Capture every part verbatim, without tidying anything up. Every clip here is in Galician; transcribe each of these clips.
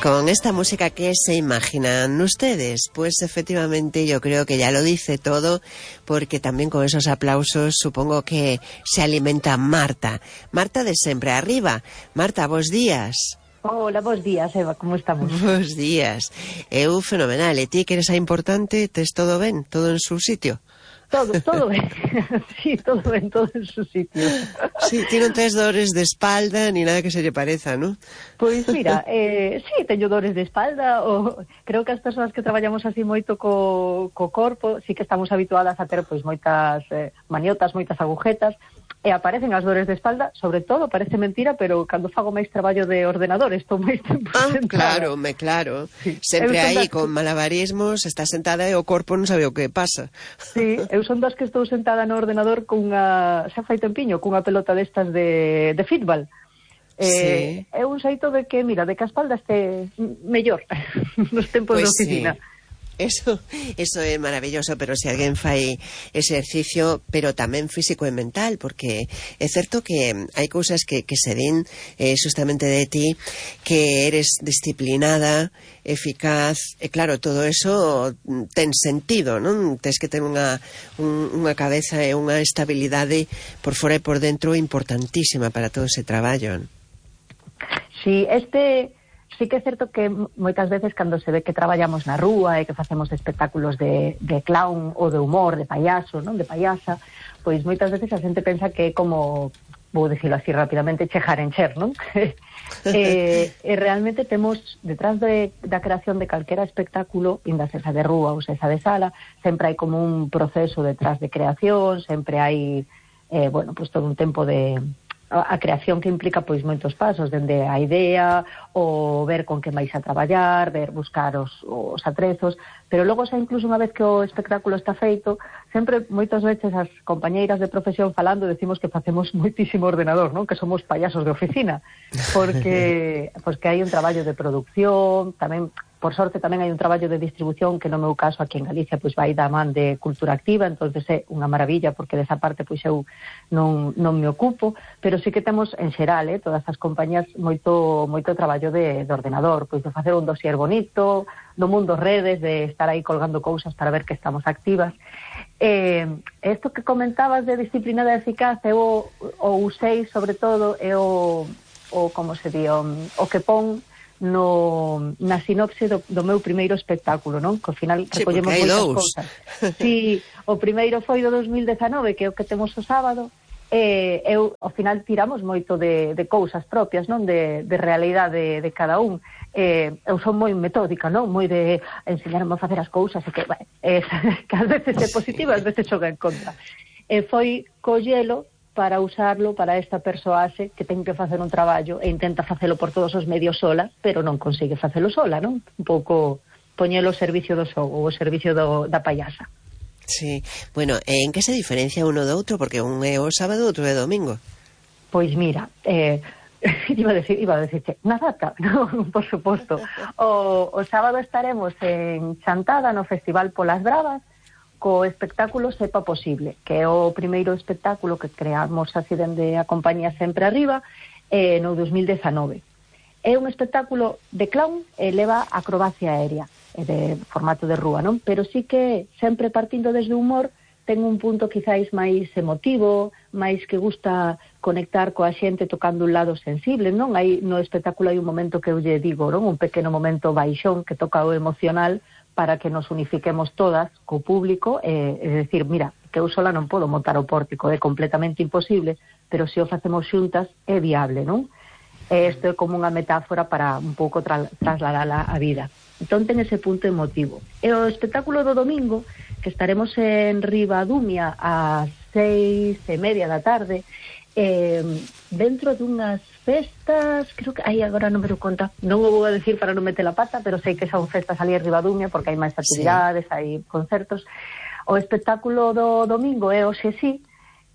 con esta música, ¿qué se imaginan ustedes? Pues efectivamente yo creo que ya lo dice todo, porque también con esos aplausos supongo que se alimenta Marta. Marta de Sempre Arriba. Marta, bos días. Hola, bos días, Eva, como estamos? Bos días. Eu fenomenal. E ti que eres a importante, tes todo ben? Todo en su sitio? Todo, todo ben. Sí, todo ben, todo en su sitio. Sí, ti non tes dores de espalda ni nada que se lle pareza, non? Pois mira, eh, sí, teño dores de espalda, o creo que as persoas que traballamos así moito co, co corpo, sí que estamos habituadas a ter pois moitas eh, maniotas, moitas agujetas, e aparecen as dores de espalda, sobre todo, parece mentira, pero cando fago máis traballo de ordenador, estou máis tempo ah, sentada. Claro, me claro. Sí. Sempre aí con malabarismos, está sentada e o corpo non sabe o que pasa. Sí, eu son das que estou sentada no ordenador cunha, xa fai tempiño, cunha pelota destas de, de fútbol. Eh, sí. É un xeito de que, mira, de que a espalda este mellor nos tempos pues de oficina. Sí. Eso, eso é maravilloso, pero se alguén fai exercicio, pero tamén físico e mental, porque é certo que hai cousas que, que se din eh, justamente de ti, que eres disciplinada, eficaz, e claro, todo eso ten sentido, non? Tes que ter unha, un, unha cabeza e unha estabilidade por fora e por dentro importantísima para todo ese traballo. Sí, este... Sí que é certo que moitas veces cando se ve que traballamos na rúa e que facemos espectáculos de, de clown ou de humor, de payaso, non, de payasa, pois moitas veces a xente pensa que é como, vou dicirlo así rapidamente, chejar en cher, non? e, e realmente temos, detrás de, da creación de calquera espectáculo, inda esa de rúa ou esa de sala, sempre hai como un proceso detrás de creación, sempre hai, eh, bueno, pois todo un tempo de... a creación que implica pois moitos pasos, dende a idea, o ver con que vais a traballar, ver buscar os, os atrezos, pero logo xa incluso unha vez que o espectáculo está feito, sempre moitas veces as compañeiras de profesión falando decimos que facemos moitísimo ordenador, non? Que somos payasos de oficina, porque pois que hai un traballo de producción, tamén por sorte tamén hai un traballo de distribución que no meu caso aquí en Galicia pois vai da man de Cultura Activa, entonces é unha maravilla porque desa parte pois eu non, non me ocupo, pero sí que temos en xeral, eh, todas as compañías moito moito traballo de, de ordenador, pois de facer un dossier bonito, do mundo redes, de estar aí colgando cousas para ver que estamos activas. Eh, isto que comentabas de disciplina de eficaz, eu o usei sobre todo, é o, o como se di, o, o que pon no, na sinopse do, do meu primeiro espectáculo, non? Que ao final recollemos sí, moitas dous. cousas. Sí, o primeiro foi do dos mil dezanove, que é o que temos o sábado, e eu, ao final tiramos moito de, de cousas propias, non? De, de realidade de, de cada un. Eh, eu son moi metódica, non? Moi de enseñarme a facer as cousas, e que, bueno, eh, que ás veces é positivo, ás veces xoga en contra. E foi collelo para usarlo para esta persoaxe que ten que facer un traballo e intenta facelo por todos os medios sola, pero non consigue facelo sola, non? Un pouco poñelo ao servicio do xogo, ao servicio do, da payasa. Sí, bueno, en que se diferencia uno do outro? Porque un é o sábado, outro é domingo. Pois mira, eh, iba a decir, iba a decirte, na data, non, por suposto. O, o sábado estaremos en Chantada, no Festival Polas Bravas, co espectáculo Sepa Posible, que é o primeiro espectáculo que creamos así dende a compañía Sempre Arriba eh, no dos mil dezanove. É un espectáculo de clown e leva acrobacia aérea, e de formato de rúa, non? Pero sí que sempre partindo desde o humor ten un punto quizáis máis emotivo, máis que gusta conectar coa xente tocando un lado sensible, non? Hai no espectáculo hai un momento que eu lle digo, non? Un pequeno momento baixón que toca o emocional, para que nos unifiquemos todas co público, eh, é dicir, mira, que eu sola non podo montar o pórtico, é completamente imposible, pero se o facemos xuntas é viable, non? E isto é como unha metáfora para un pouco tra trasladar a vida. Entón ten ese punto emotivo. E o espectáculo do domingo, que estaremos en Ribadumia ás seis e media da tarde, eh, dentro dunhas festas, creo que, ai, agora non me dou conta, non o vou a decir para non meter a pata, pero sei que son festas ali en Ribadumia, porque hai máis actividades, sí. Hai concertos. O espectáculo do domingo é o Xesí,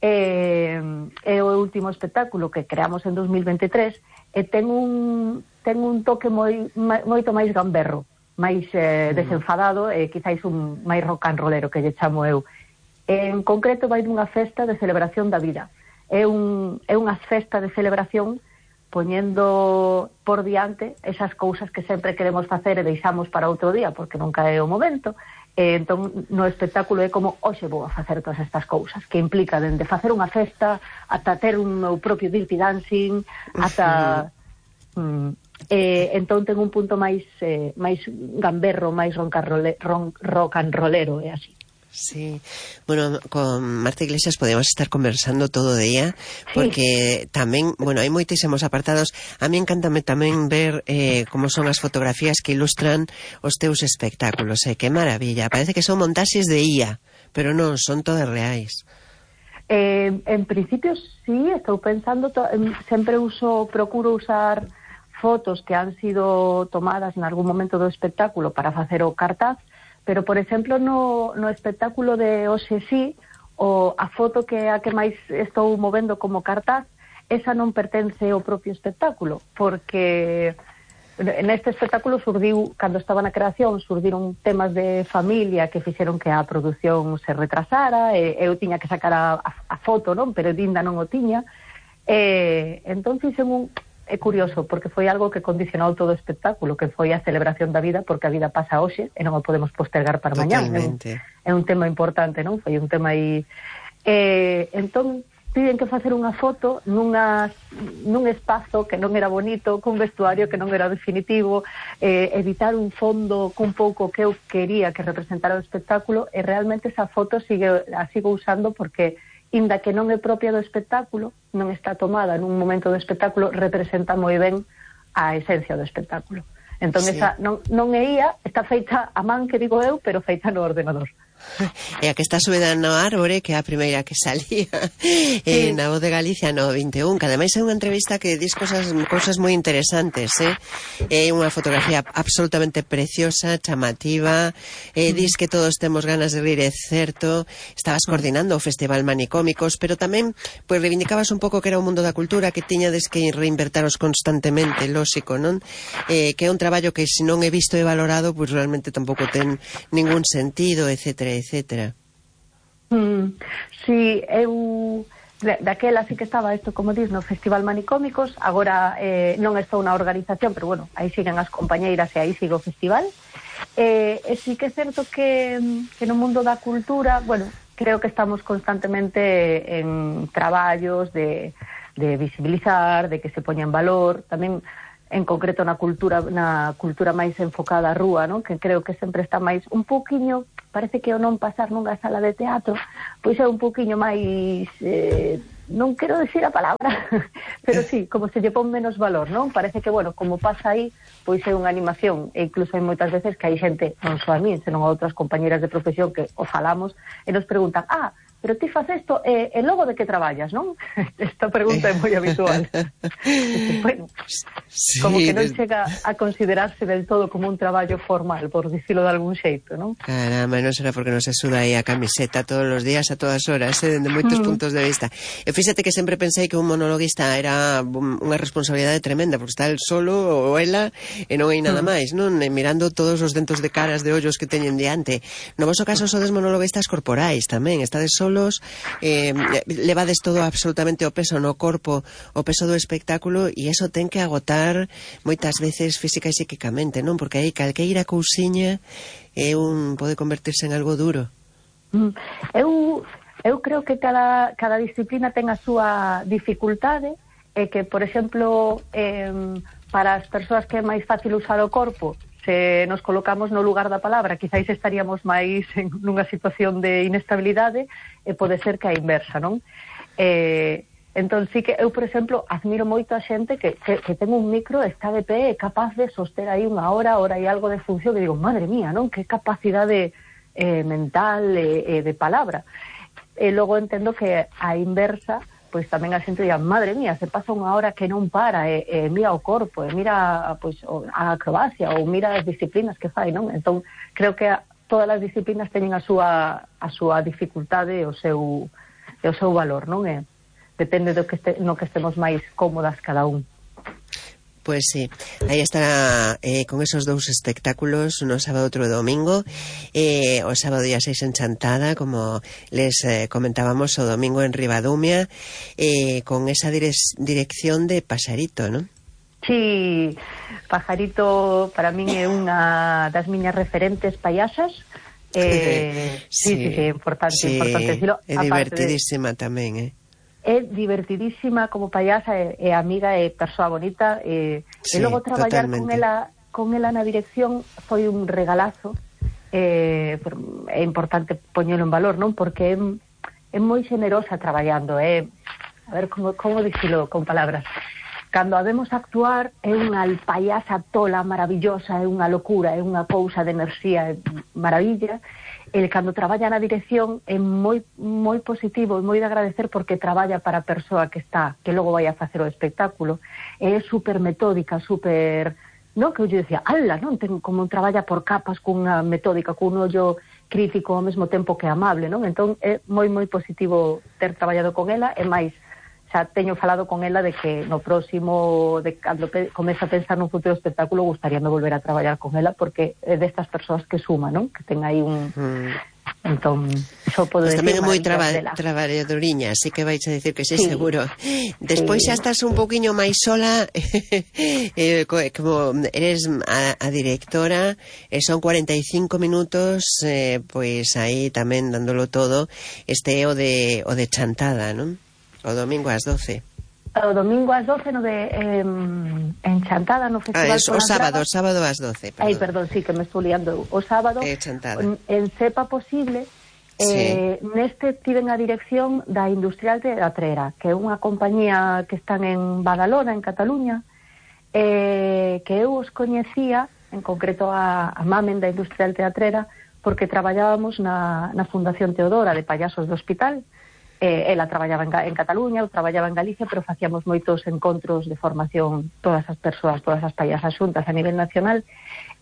eh, é o último espectáculo que creamos en dos mil veintitrés, e ten un, ten un toque moi, moito máis gamberro, máis eh, desenfadado, e quizáis un máis rock and rollero, que lle chamo eu. En concreto vai dunha festa de celebración da vida. É, un, é unha festa de celebración poñendo por diante esas cousas que sempre queremos facer e deixamos para outro día porque nunca é o momento. E entón no espectáculo é como hoxe vou a facer todas estas cousas que implica dende facer unha festa ata ter un meu propio dirty dancing ata uh-huh. mm, e, entón ten un punto máis eh, máis gamberro, máis ron, rock and rollero, é así. Sí, bueno, con Marta Iglesias podemos estar conversando todo o día porque sí. Tamén, bueno, hai moitísimos apartados. A mí encántame tamén ver eh, como son as fotografías que ilustran os teus espectáculos, eh, que maravilla, parece que son montaxes de I A, pero non, son todas reais. Eh, en principio sí, estou pensando to- sempre uso, procuro usar fotos que han sido tomadas en algún momento do espectáculo para facer o cartaz. Pero, por exemplo, no, no espectáculo de hoxe sí, o a foto que a que máis estou movendo como cartaz, esa non pertence ao propio espectáculo, porque neste espectáculo surdiu, cando estaba na creación, surdiron temas de familia que fixeron que a produción se retrasara, e eu tiña que sacar a, a, a foto, non? Pero Dinda non o tiña, e entón fixen un... É curioso, porque foi algo que condicionou todo o espectáculo, que foi a celebración da vida, porque a vida pasa hoxe e non o podemos postergar para mañá. É un, é un tema importante, non? Foi un tema aí... Eh, entón, piden que facer unha foto nunha, nun espazo que non era bonito, cun vestuario que non era definitivo, eh, editar un fondo cun pouco que eu quería que representara o espectáculo, e realmente esa foto sigue, a sigo usando porque... inda que non é propia do espectáculo, non está tomada nun momento do espectáculo, representa moi ben a esencia do espectáculo. Entón, sí. esa non, non é I A, está feita a man, que digo eu, pero feita no ordenador. E a que está subida no árbore, que é a primeira que salía sí. eh, na Voz de Galicia no vinte e un, que ademais é unha entrevista que dis cosas, cosas moi interesantes, eh? É unha fotografía absolutamente preciosa, chamativa, eh, dis que todos temos ganas de rir, é certo. Estabas coordinando o Festival Manicómicos, pero tamén pois reivindicabas un pouco que era o mundo da cultura, que tiñades que reinvertaros constantemente, lóxico, non? Eh, que é un traballo que se non é visto e valorado, pois realmente tampouco ten ningún sentido, etcétera, etcétera. Mm, si, eu daquela sí que estaba isto, como dis, no Festival Manicómicos, agora eh, non estou na organización, pero bueno, aí siguen as compañeiras e aí sigo o festival. Eh, e sí que é certo que, que no mundo da cultura, bueno, creo que estamos constantemente en traballos de, de visibilizar, de que se poña en valor, tamén en concreto na cultura na cultura máis enfocada á rúa, non? Que creo que sempre está máis un pouquiño, parece que o non pasar nunha sala de teatro, pois é un pouquiño máis eh, non quero decir a palabra, pero sí, como se lle pon menos valor, non? Parece que, bueno, como pasa aí, pois é unha animación, e incluso hai moitas veces que hai xente, non só a mí, senón a outras compañeras de profesión que o falamos e nos preguntan, ah, pero ti faz isto, e, e logo de que traballas, non? Esta pregunta é moi habitual. Dice, bueno, sí, como que non des... chega a considerarse del todo como un traballo formal, por dicilo de algún xeito, non? Caramba, non será porque non se suda aí a camiseta todos os días, a todas horas, eh, dende moitos mm. puntos de vista. E fíxate que sempre pensei que un monologuista era unha responsabilidade tremenda, porque está el solo ou ela e non hai nada mm. máis, non? E mirando todos os dentos de caras de ollos que teñen diante. No voso caso sodes monologuistas corporais tamén, estades solo solos, eh, levades todo absolutamente o peso no corpo, o peso do espectáculo, e eso ten que agotar moitas veces física e psíquicamente, non? Porque aí calqueira cousiña é un, pode convertirse en algo duro. Mm. Eu, eu creo que cada, cada disciplina ten a súa dificultade, e que, por exemplo, eh, para as persoas que é máis fácil usar o corpo, se nos colocamos no lugar da palabra, quizáis estaríamos máis en nunha situación de inestabilidade, e pode ser que a inversa, non? Eh, entón, sí que eu, por exemplo, admiro moito a xente que, que, que ten un micro, está de pé, é capaz de soster aí unha hora, hora e algo de función, que digo, madre mía, non? Que capacidade eh, mental e eh, eh, de palabra. E logo entendo que a inversa, pois tamén a xente diga, madre mía, se pasa unha hora que non para, e, e mira o corpo, e mira pois, a acrobacia, ou mira as disciplinas que fai, non? Entón, creo que a, todas as disciplinas teñen a súa, a súa dificultade e o seu, e o seu valor, non? E depende do que este, no que estemos máis cómodas cada un. Pois sí, aí estará eh, con esos dous espectáculos, no sábado outro domingo, eh, o sábado día seis en Chantada, como les eh, comentábamos, o domingo en Ribadumia, eh, con esa dire dirección de Pajarito, ¿no? Sí, Pajarito para min é unha das miñas referentes payasas. Eh, sí, sí, sí, sí, importante, sí, importante decirlo. É divertidísima de... tamén, eh? É divertidísima como payasa, é, é amiga, é persoa bonita, e, sí, e logo traballar totalmente con ela con ela na dirección foi un regalazo. Eh, é importante poñelo en valor, non? Porque é, é moi xenerosa traballando, é, a ver como, como dicilo con palabras. Cando a vemos actuar é unha payasa tola maravillosa, é unha locura, é unha cousa de enerxía, é maravilla. El cando traballa na dirección é moi moi positivo e moi de agradecer porque traballa para a persoa que está, que logo vai a facer o espectáculo. É super metódica, super, non, que eu dicía, ala, non, ten como traballa por capas cunha metódica, cun ollo crítico ao mesmo tempo que amable, non? Entón é moi moi positivo ter traballado con ela, e máis xa teño falado con ela de que no próximo, de cando pe, comeza a pensar nun futuro espectáculo, gustaríame volver a traballar con ela, porque é destas persoas que suma, non? Que ten aí un... Mm. Entón, xo podo pues decir... Tamén é moi traba, traballadoriña, así que vais a decir que sí, sí, seguro. Despois sí, xa estás un poquinho máis sola, eh, como eres a, a directora, e son cuarenta e cinco minutos, eh, pois aí tamén dándolo todo, este é o de, o de Chantada, non? O domingo ás doce. O domingo ás doce no de eh, en Chantada, no Festival ah, es, o sábado, o sábado ás doce, perdón. Ai, perdón, sí, que me estou liando. O sábado, eh, en, en Sepa Posible, eh, sí, neste tiven a dirección da Industrial Teatrera, que é unha compañía que están en Badalona, en Cataluña, eh, que eu os coñecía, en concreto a, a Mamen da Industrial Teatrera, porque traballábamos na, na Fundación Teodora de Payasos do Hospital. Eh, ela traballaba en, en Cataluña, eu traballaba en Galicia, pero facíamos moitos encontros de formación, todas as persoas, todas as payasas xuntas a nivel nacional,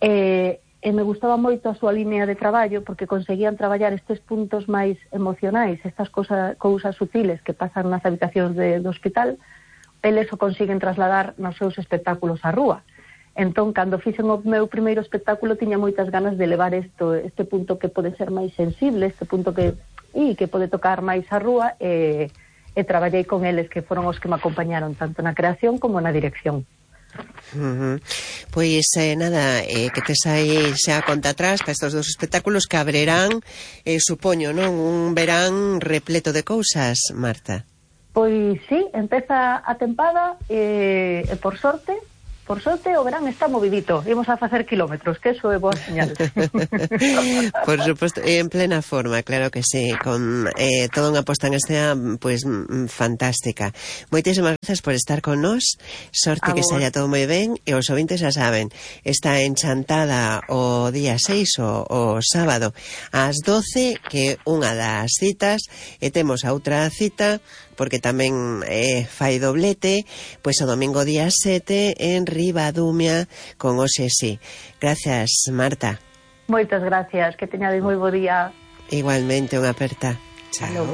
eh, e me gustaba moito a súa línea de traballo, porque conseguían traballar estes puntos máis emocionais, estas cosa, cousas sutiles que pasan nas habitacións de, do hospital, eles o consiguen trasladar nos seus espectáculos á rúa. Entón, cando fixen o meu primeiro espectáculo, tiña moitas ganas de levar esto, este punto que pode ser máis sensible, este punto que e que pode tocar máis a rúa, e, e traballei con eles, que foron os que me acompañaron tanto na creación como na dirección. Uh-huh. Pois eh, nada, eh, que tes aí xa conta atrás para estes dos espectáculos que abrirán, eh, supoño, non? Un verán repleto de cousas, Marta. Pois sí, empeza a tempada e, e por sorte Por sorte, o verán está movidito. Imos a facer kilómetros, que eso é boa señal. Por suposto, en plena forma, claro que sí, con eh, toda unha posta en escena pues, fantástica. Moitísimas gracias por estar con nós. Sorte que saia todo moi ben. E os ouvintes xa saben, está en Chantada o día seis, o, o sábado, ás doce, que unha das citas, e temos a outra cita, porque tamén eh, fai doblete, pois o domingo día sete en Ribadumia con Oxe Sí. Gracias, Marta. Moitas gracias, que teñades moi bo día. Igualmente, unha aperta. Chao.